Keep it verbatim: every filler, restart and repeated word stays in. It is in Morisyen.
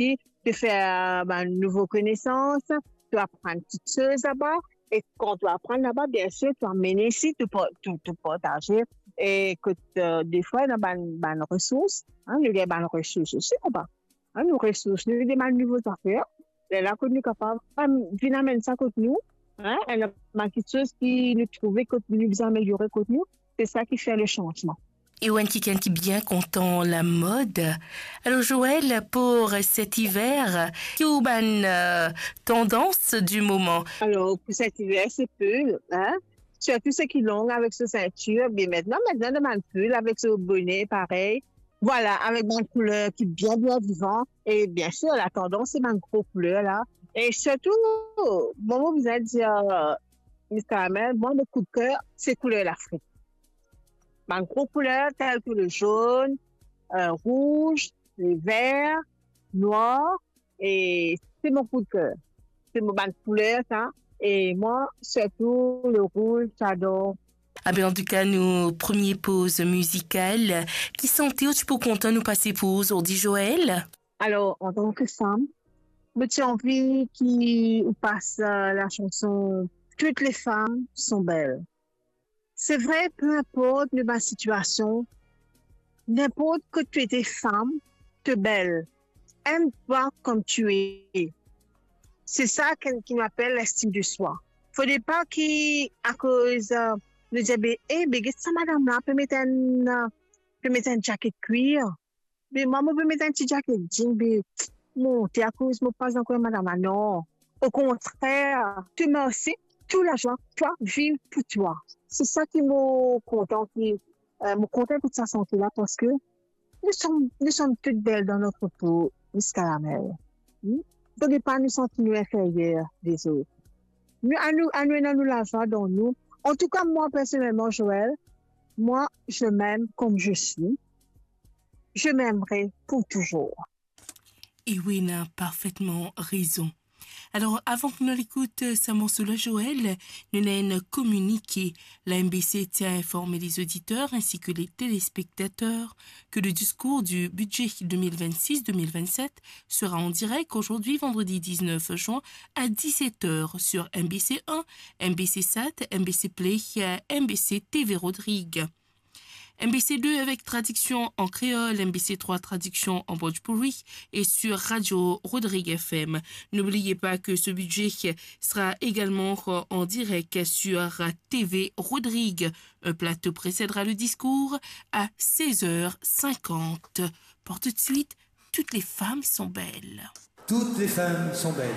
osi, to fer bann nouvo konesans, to aprann kiksoz laba, e kan to aprann laba, biensir, to amenn isi, to par-, to, to partaze, e kot, eh, defwa, ena bann, bann resours, hein, nou gagn bann resours osi laba. Hein, nou resours, nou demann nouvo zafer. Lerla kot nou kapav, am, vinn amenn sa kot nou, hein, ena bann kiksoz ki nou trouve kot nou bizin ameliore kot nou, se sa ki fer le sanzman. E ou enn kikenn ki bien kontan lamod. Alors Joël, pour cet hiver, ki ou bann, euh, tendance du moment? Alors, pour cet hiver, c'est pull, hein. Surtout ceux qui long avec ce ceinture. Bien maintenant, maintenant, demande pull avec ce bonnet, pareil. Voilà, avec bann kouler ki bien, bien vivan. E biensir, la tendance, se bann gro kouler la. E sirtou, bon, mo bizin dir, Miss Caramel, mwa, mo koudker, se kouler Lafrik. Bann gro kouler tel ki le zone, euh, rouz, le ver, nwar, e se mo koudker. Se mo bann kouler sa. E mwa, sirtou le rouz, j'adore. Ah ben, an tou ka, nou premie poz mizikal. Ki sante ou ti pou kontan nou pase pou ou zordi, Joël? Alors, en tant que femme, mo ti anvi ki ou pas, euh, la chanson Toutes les femmes sont belles. C'est vrai, peu importe nou bann situasion, n'importe que tu étais femme, t'es belle. Aime-toi comme tu es. C'est ça que, qui m'appelle l'estime de soi. Faudrait pas ki, akoz, euh, nou dir, be, eh, be, get sa madam la, pe met enn, euh, pe met enn jaket kwir. Be, mwa, mo pe met enn ti jaket jean, be, monte, akoz mo pa ankor madam la, non. Okontrer, to mersi, tou lazwa, twa, viv pou twa. Se sa ki mo kontan ki, euh, mo kontan ekout sa sante la, parski nous sommes, nous sommes toutes belles dans notre peau, Miss Caramel. Hmm? Donk, pa nou santi nou inferyer lezot. Nou, anou, anou ena nou lazwa dan nou. En tout cas, moi, personnellement, Joël, moi, je m'aime comme je suis. Je m'aimerai pour toujours. E wi, ou ena parfetman rezon. Alors, avan ki nou al ekout, euh, sa morso la, Joël, nou ena enn kominike. La M B C tient à informer les auditeurs ainsi que les téléspectateurs que le discours du budget deux mille vingt-six deux mille vingt-sept sera en direct aujourd'hui, vendredi dix-neuf juin, à dix-sept heures sur M B C un, M B C Sat, M B C Play, euh, M B C T V Rodrigue. M B C deux avec traduction en créole, M B C trois traduction en bhojpuri et sur Radio Rodrigue F M. N'oubliez pas que ce budget sera également en direct sur T V Rodrigue. Un plateau précédera le discours à seize heures cinquante. Pour tout de suite, Toutes les femmes sont belles. Toutes les femmes sont belles.